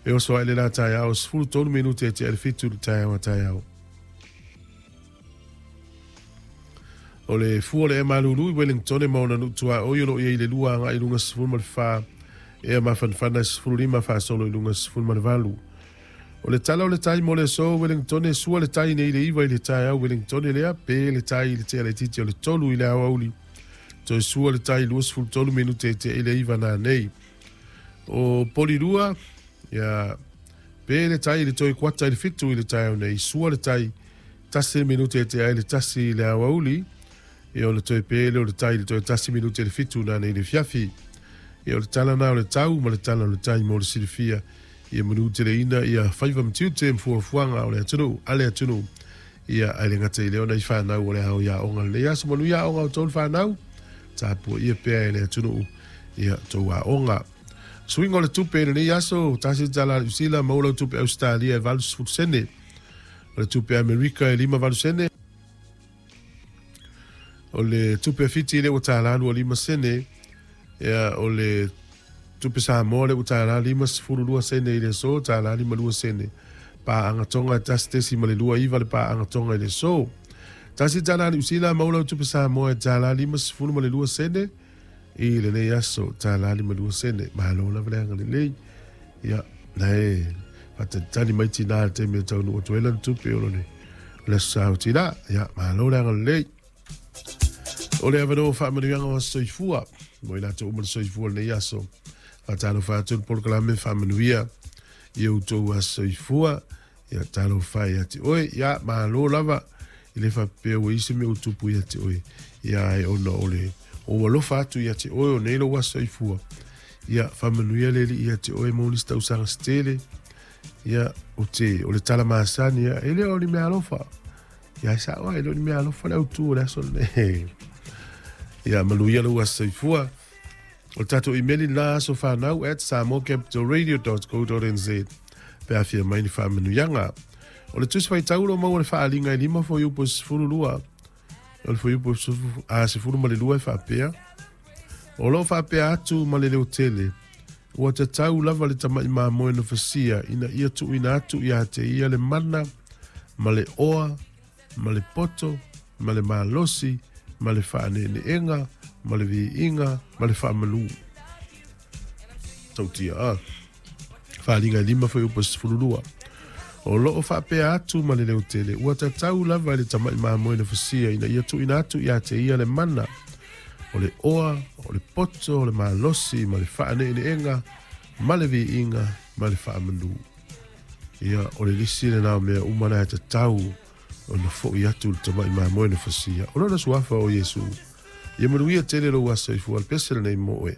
E oso ai le la taeao 13 minute e tea le 7 le taeao a taeao. O le fua o le ea malulu i Wellington ma ona nuu tuaoi o lo o i ai le 2 agai i luga 14, ea mafanafana e 15 faasolo i luga 18. O le tala o le tai mo le aso Wellington e sua le tai nei i le 9 i le taeao Wellington lea pe le tai i le tea laitiiti o le 3 i le aoauli. Toe sua le tai 23 minute e tea i le 9 nanei. O Polirua, ia, pe le tai i le toe kuata i le 7 i le taeao nei, sua le tai 1 minute e tea ai le 1 i le aoauli, ia ona toe pe lea o le tai i le toe 1 minute i le 7 nanei i le afiafi. Ia o le tala na o le tau ma le tala o le tai mo le silafia, ia manuteleina ia faiva ma tiute ma fuafuaga o le atunuu, a le atunuu. Ia, ae le gata i lea ona i fanau o le ao i aoga lenei aso manuia aoga o tou fanau, tapuaia pea e le atunuu ia tou aoga. Suiga o le tupe i lenei aso, $1 Niu Sila, maua lau tupe Ausetalia e 80 sene. O le tupe Amerika e 58 sene. O le tupe a Fiti lea ua $1 25 sene. Ia, o le tupe Samoa lea ua $1.52 sene i le aso, $1.52 sene. Paaga Tonga e 1.29 le paaga Tonga i le aso. $1 Niu Sila, maua lau tupe Samoa e $1.52 sene i lenei aso, $1.52 sene. Malo lava le agalelei. Ia, na e faatalitali mai tinā i le taimi e taunuu atu ai lana tupe o lone o le aso sa o tinā. Ia, malo le agalelei. O le avanoa o faamanuiaga o aso soifua mo i latou uma le soifua o lenei aso. Faatalofa atu le polokalame faamanuia i outou aso soifua. Ia talofa ia te oe. Ia malo lava i le faapea ua i se mea ua tupu ia te oe. Ia ai ona o le o alofa atu ia te oe o nei lou aso soifua. Ia faamanuia le Alii ia te oe mo nisi tausaga se tele. Ia o te o le tala masani ia e le o ni mea alofa. Ia e sao ai, e le o ni mea alofa le autu o le aso lenei. Ia manuia lou aso soifua. O le tatou imeli lena asofanau@samoacapitalradio.co.nz pe a fia mai ni faamanuiaga. O le tusi faitau lo maua le faaaliga e 5 fuaiupu e 12. O le fuaiupu 12 e faapea. O lo o faapea atu ma le leotele, ua tatau lava le tama'i mamoe na fasia ina ia tuuina atu ia te ia le mana ma le oa ma le poto ma le malosi ma le faaneeneega ma le viiga ma le faamalu. Tautia a. Faaaliga e 5 fuaiupu e 12. O lo o faapea atu ma le leotele, ua tatau lava i le tama'i mamoe na fasia ina ia tuuina atu ia te ia le mana, o le oa, o le poto, o le malosi, ma le faaneeneega, ma le viiga, ma le faamanu. Ia, o le lisi lena o mea uma na e tatau ona fo'i atu le tama'i mamoe na fasia. O lona suafa o Iesu. Ia manuia tele lou aso soifua, le pese lenei mo oe.